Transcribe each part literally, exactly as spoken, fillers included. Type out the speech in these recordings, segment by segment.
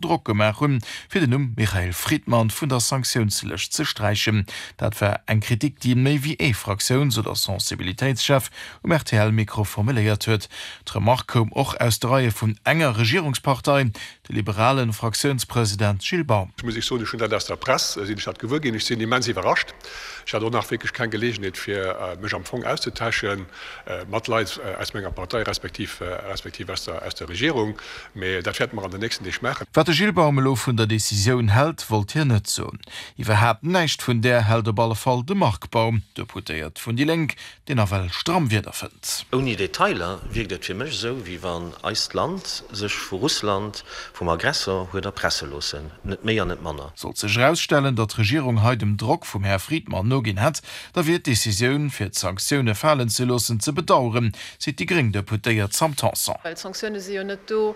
Drock gemaach hunn, fir den Numm Michael Fridman vun der Sanktiounslëscht ze sträichen. Dat war eng Kritik, déi méi wéi ee Fraktiouns oder Sensibilitéitschef um R T L-Mikro formuléiert huet. D'Remark koum och aus de Reie vun enger Regierungspartei, de liberale Fraktiounspresident Gilles Baum. Muss ech soen, ech hunn dat aus der Press sinn ech dat gewuer ginn. Ech sinn immens iwwerrascht. Ech hat och nach wierklech keng Geleegenheet fir mech am Fong auszetauschen mat Leit aus menger Partei respektiv respektiv aus der aus der Regierung, mee dat wäerte mer an den nächsten Deeg maachen. Wat de Gilles Baum elo vun der Decisioun hält, wollt hien net soen. Iwwerhaapt näischt vun där hält op alle Fall de Marc Baum, Deputéiert vun déi Lénk, deen nawell stramm Wierder fënnt. Ouni Detailer wierkt et fir mech esou, wéi wann eist Land sech vu Russland, vum Aggressor, huet erpresse loossen. Net méi an net manner. Sollt sech erausstellen, datt d'Regierung hei dem Drock vum Här Friedman noginn hätt, da wier d'Decisioun, fir d'Sanktioune falen ze loossen, ze bedaueren, seet déi gréng Deputéiert Sam Tanson. Well d'Sanktioune si jo net do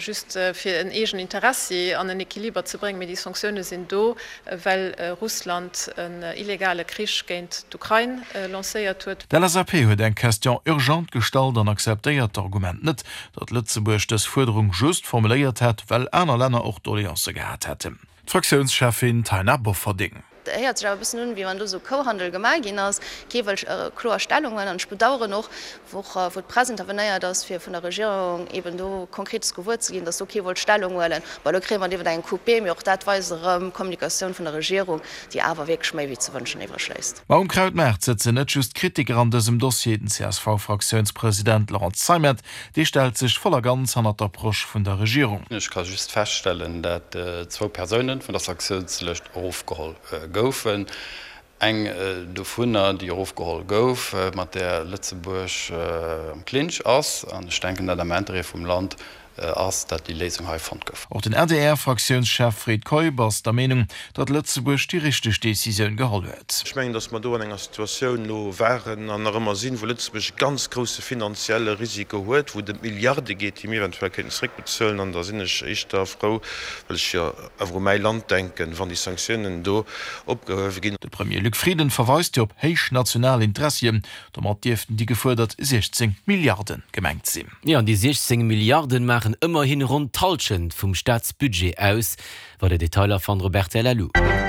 just fir en eegen Interessi an en Equiliber ze bréngen, mee déi Sanktioune sinn do, well Russland en illegale Krich géint d'Ukrain lancéiert huet. D'L S A P huet eng Question urgente gestallt an akzeptéiert d'Argument net, datt Lëtzebuerg dës Fuerderung just formuléiert hätt, well aner Länner och Doleancë gehat hätten. D'Fraktiounscheffin Taina Bofferding. Et héiert sech awer e bëssen un, wéi wann do esou Kouhandel gemaach ginn ass. Kee wëll kloer Stellung huelen. An ech bedauern och, wou wou d'Press intervenéiert ass, fir vun der Regierung eben do Konkretes gewuer ze ginn, dass do kee wollt Stellung huelen. Bon, elo kréie mer et iwwer eng Coupé, mee och dat weist erëm d'Kommunikatioun vun der Regierung, déi awer wierklech méi wéi ze wënschen iwwreg léisst. Ma um Krautmaart sëtzen net just Kritiker an dësem Dossier. Den C S V-Fraktiounspresident Laurent Zeimet, dee stellt sech voll a ganz hannert d'Approche vun der Regierung. Ech ka just feststellen, dat zwou Persounen vun der Sanktiounslëscht erofgeholl goufen. Eng dovunner, déi erofgeholl gouf, mat där Lëtzebuerg am Clinch ass, an ech denken, dat am Interêt vum Land ass, dat déi Léisung hei fonnt gouf. Och den A D R-Fraktiounschef Fred Keup ass der Meenung, datt Lëtzebuerg déi richteg Decisioun geholl huet. Ech mengen, datt mer do an enger Situatioun elo waren an nach ëmmer sinn, wou Lëtzebuerg e ganz grousse finanzielle Risiko huet, wou et ëm Milliarde geet, déi mir eventuell kéinten zeréckbezuelen. An da sinn ech éischter frou, well ech jo awer u mäi Land denken, wann déi Sanktiounen do opgehuewe ginn. De Premier Luc Frieden verweist jo op héich national Interessien. Domat dierften déi gefuerdert siechzéng Milliarde gemengt sinn. Jo, an déi siechzéng Milliarden maachen ëmmerhin ronn d'Hallschent vum Staatsbudget aus. Weider Detailer fannt der op R T L Punkt L U.